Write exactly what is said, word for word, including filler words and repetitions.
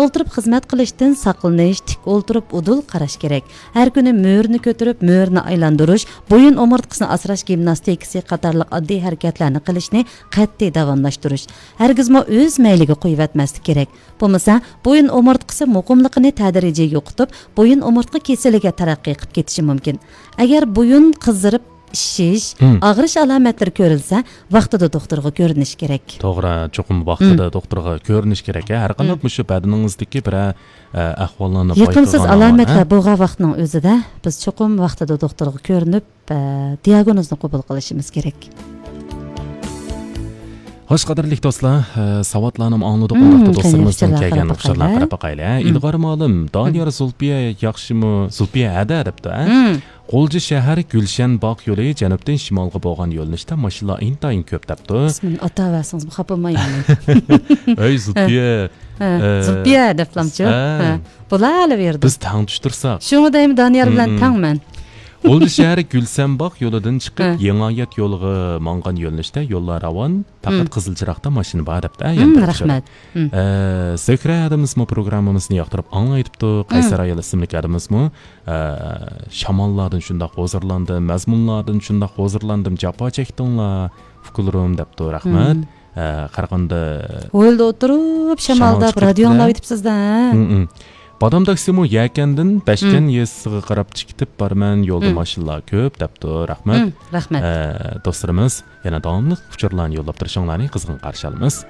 ئولتۇرۇپ خىزمەت قىلىشتىن ساقلىنىش، تىك ئولتۇرۇپ ئۇدۇل قاراش كېرەك. ھەر كۈنى مۈرىنى كۆتۈرۈپ، مۈرىنى ئايلاندۇرۇش، بويۇن ئومۇرتقىسىنى ئاسراش گىمناستىكىسى قاتارلىق ئاددىي ھەرىكەتلەرنى قىلىشنى قەتئىي داۋاملاشتۇرۇش. ھەرگىزمۇ ئۆز مەيلىگە قويۇۋەتمەسلىك كېرەك. بولمىسا، بويۇن ئومۇرتقىسى مۇقىملىقىنى تەدرىجىي يوقىتىپ، بويۇن ئومۇرتقا كېسىلىگە تەرەققىي قىلىپ كېتىشى مۇمكىن. ئەگەر بويۇن قىزىرىپ، ئىششىش، مم. ئاغرىش ئالامەتلىرى كۆرۈلسە، ۋاقتىدا دوختۇرغا كۆرۈنۈش كېرەك. توغرا، چوقۇم ۋاقتىدا مم. دوختۇرغا كۆرۈنۈش كېرەك، ھە. ھەر قانداق مم. مۇشۇ بەدىنىڭىزدىكى بىرەر، ئە، ئەھۋاللارنى يېقىمسىز بايقىغان ئالامەتلەر ھە؟ بولغان ۋاقىتنىڭ ئۆزىدە بىز چوقۇم ۋاقتىدا دوختۇرغا كۆرۈنۈپ، ئە، دىياگنوزنى قوبۇل قىلىشىمىز كېرەك. خوش، قەدىرلىك دوستلار، ئە، ساۋاتلارنى ئاڭلىدۇق، مم، ئۇنداقتا قېنى، دوستلىرىمىزدىن ئكىچىلەر كەلگەن قاراپ ئۇچۇرلارغا باقايلى. قاراپ باقايلى، ھە. مم. ئىلغار مالىم، دانىيار مم. زۇلپىيە ياخشىمۇ؟ زۇلپىيە ھەدە دەپتۇ، ھە. مم. غۇلجا شەھەر گۈلشەن باغ يولى جەنۇبتىن شىمالغا بولغان يۆنىلىشتە ماشىنىلار ئىنتايىن كۆپ دەپتۇ. ئىسمىنى ئاتاۋەرسىڭىزمۇ خاپا بولمايمەن. ئەي زۇلپىيە، ھە، ئە، زۇلپىيە دەپلامچۇ. ھە. ھە. بولالىۋېرىدۇ. بىز تەڭ چۈشتۈرسەك. شۇڭا دەيمەن، دانىيار بىلەن مم. تەڭمەن. غۇلجا شەھىرى گۈلشەن باغ يولىدىن چىقىپ، ھە. يېڭىئايات يولىغا ماڭغان يۆنىلىشتە يوللار راۋان، پەقەت مم. قىزىل چىراغدا ماشىنا بار دەپتۇ. ھە، مم، ياندىكى رەھمەت. مم. ئە، زۆھرە ھەدىمىزمۇ پروگراممىمىزنى ياقتۇرۇپ ئاڭلايتىپتۇ. مم. قەيسەر ئايال ئىسىملىك ھەدىمىزمۇ، ئە، شاماللاردىن شۇنداق ھۇزۇرلاندىم، مەزمۇنلاردىن شۇنداق ھۇزۇرلاندىم، جاپا چەكتىڭلار، ئۇكىلىرىم دەپتۇ. رەھمەت. مم. ئە، قاراغاندا ھويلىدا ئولتۇرۇپ، شامال شامالدا چىقىپ رادىيو كېتىپتۇ. ئاڭلاۋېتىپسىز-دە. مم، مم. بادام تاكسىمۇ يەكەندىن بەشكەن مم. يېزىسىغا قاراپ چىقىپ بارىمەن، يولدا مم. ماشىنىلار كۆپ دەپتۇ. رەھمەت. مم، رەھمەت. ئە، دوستلىرىمىز يەنە داۋاملىق ئۇچۇرلارنى يوللاپ تۇرۇشۇڭلارنى قىزغىن قارشى ئالىمىز.